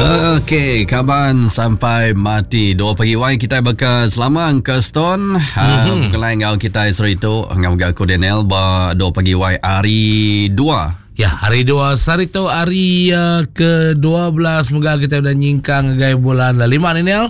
Okey, kaban sampai mati. Dua pagi wai kita baka selama Uncle Stone. Mm -hmm. Berkelai enggau kita seritu enggau mega aku Daniel ba dua pagi wai hari dua. Ya, hari dua sehari tu hari uh, ke-12 moga kita udah nyingkang ngagai bulan lima ni Nel.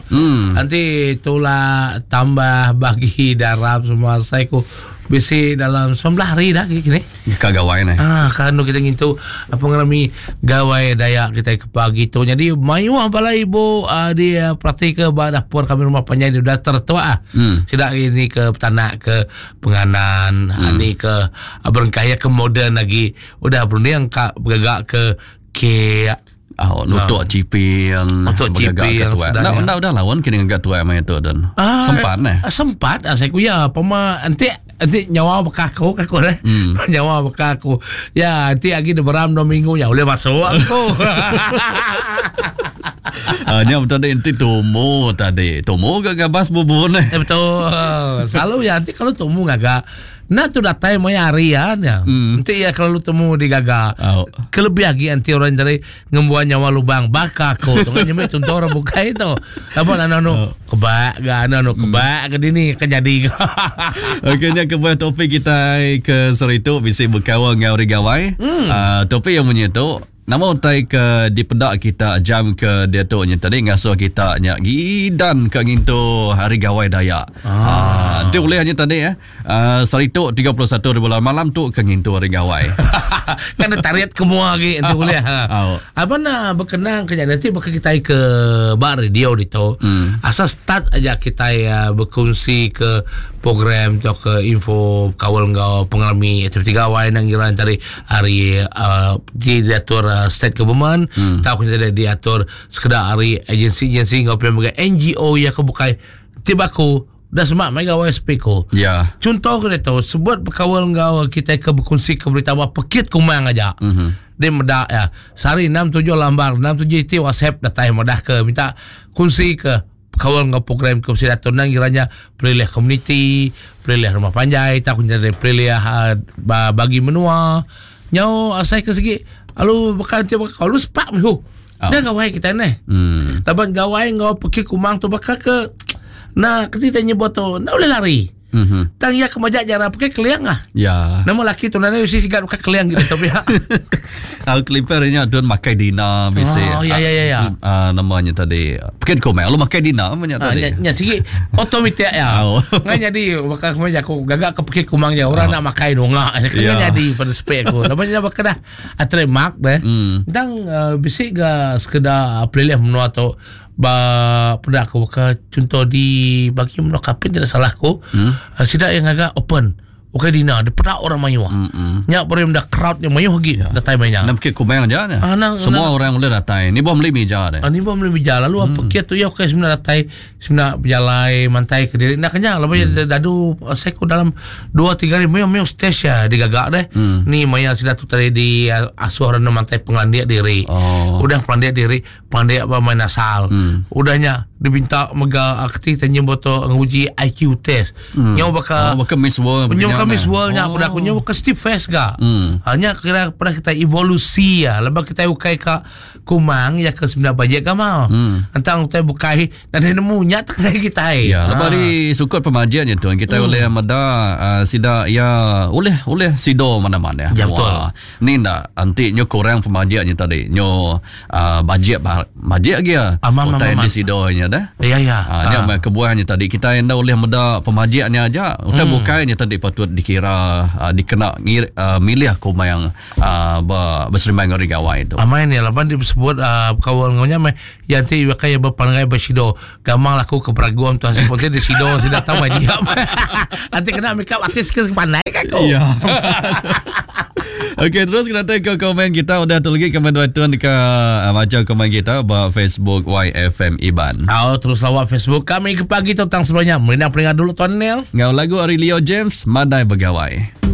Nanti itulah tambah bagi darab semua saya ku bisi dalam 19 hari dah kini. Ka gawai neh. Ah, ka anu kita ngintu pengerami gawai Dayak kita ke pagi tu. Jadi mayuh bala ibu uh, di uh, perhati ke ba dapur kami rumah panjai di daftar tu ah. Sida ini ke petanak ke penganan, hmm. ni ke uh, berengkah ya ke moden lagi. Udah berunding ka bergagak ke kek. Oh, nutuk ah. ciping. Nutuk ciping. Dah, dah, dah lawan kini ngagak tuai maya tu dan. Ah, sempat neh. Ah, sempat ah, saya kuya pema enti enti nyawa beka aku aku deh. Nyawa beka aku. Ya, enti agi beram dua minggu ya boleh masuk aku. Ah, nya betul tadi enti tumu tadi. Tumu ke gabas bubur neh. Eh, betul. Selalu ya enti kalau tumu ngagak Enda tu datai maya hari ya nya. Enti iya kelalu temu digaga. Au. Kelebih agi enti orang tadi ngembuan nyawa lubang baka aku tu kan nyembi chunto orang bukai tu. Laban anu anu kebak ga anu anu kebak ke dini ke nyadi ga. Okey nya kebuah topik kitai ke sehari tu bisi bekaul enggau hari gawai. Uh, topik yang munyi tu Nama utai ke dipeda kita jam ke diatu nya tadi ngasuh kita nya gidan ka ngintu Hari Gawai Dayak. Ah. Enti ulih nya tadi eh. Uh, sehari tu 31 hari bulan malam tu ke ngintu Hari Gawai. kan ada tarit ke mua lagi enti ulih. Ha. Au. Apa nak berkenang ke nya nanti baka kita ke ba radio ditu. Asal start aja kita uh, berkongsi ke program atau ke info kaul enggau pengerami aktiviti gawai nang ngira tadi ari uh, ti diatur uh, state government hmm. tau kena diatur sekeda ari agensi-agensi enggau pia mega NGO ya ke bukai ti baku dah semak mai gawai spiko. Ya. Contoh ke tu sebut berkawal enggau kita ke berkongsi ke berita apa pekit kumang aja. Mm-hmm. Dia meda ya. Sehari 6 7 lambar 6 7 iti WhatsApp datai madah ke minta kongsi ke Kaul enggau program ke bisi diatur endang kira nya pelilih komuniti, pelilih rumah panjai tauka nyadi pelilih uh, bagi menua. Nyau asai ke sigi lalu baka enti baka kaul sepak meh huh. Oh. Dah gawai kita neh. Laban gawai enggau pekit kumang tu baka ke nah keti tanya nyebut tu enda boleh lari. Mm-hmm. Tang iya ke majak jara pakai keliang ah. Ya. Nama laki tu nana usi sigat pakai keliang gitu tapi ya. Al keliper nya tuan makai dina bisi. Oh ya ya ya ya. Uh, namanya tadi. Pekit ko mai lu makai dina namanya ah, tadi. Nya, nya sigi automatic ya. Oh. Ngai jadi bakal kemai aku gagak ke pekit kumang ja orang oh. nak makai nunga. Kena ya. jadi pada spek aku. Lepas nya bakal dah trademark deh. Tang uh, bisi ga sekedar pelilih menua tu Ba peda aku baka chunto di bagi menua Kapit tidak salah aku. Sida iya ngaga open. Ukai dina dipeda orang mayuh. Nya baru meda crowd nya mayuh agi datai maya nya. Enda pekit kumang aja nya. Ah, nang, Semua nang, orang boleh datai. Ni buah meli mija deh. Ah, ni buah meli mija. Lalu hmm. pekit tu iya ukai semina datai semina bejalai mantai ke diri. Enda kenya laban hmm. dadu saya ku dalam 2 3 hari mayuh mayuh stage ya digaga deh. Ni maya sida tu tadi di asuh orang mantai pengelandik diri. Oh. Udah pengelandik diri Pandik ba main asal. Udah nya dibinta mega keti tanya boto nguji IQ test. Nyau baka Oh, baka Miss World. Nyau baka begini Miss World nya oh. peda aku nyau baka Steve Fest ga. Ha nya kira peda kita evolusi ya. Lepas kita ukai ka kumang ya ke semina bajet gamal. Entang utai bukai nadai nemu nya tengah kita. Ya, lepas di sukut pemajian nya tuan kita oleh meda uh, sida ya oleh oleh sido mana-mana. Ya, betul. Wah, Ni enda enti nyu kurang pemajik nya tadi nyu uh, bajik bajik agi ya. Amam, Utai amam, di sido nya dah. Ya ya. Ha, nya meh kebuah nya tadi kita enda ulih meda pemajik nya aja. Utai bukai nya tadi patut dikira uh, dikena ngir, uh, milih kumang uh, ba beserimbai enggau hari gawai tu. Amai ni laban dia sebut uh, kawan ngau nya meh yang ti pakai berpanggai bersido gamang laku ke beragum tu hasil ponti di sido sida tahu mai dia. Nanti kena make up artis ke pandai kan aku. Ya. Okey, terus kita datang ke komen kita. Udah tu lagi komen dua tuan ke uh, baca komen kita ba Facebook YFM Iban. Oh, terus lawat Facebook kami ke pagi tentang sebelumnya. Merindang peringkat dulu Tuan Neil. Ngau lagu ari Leo James, Madai Begawai.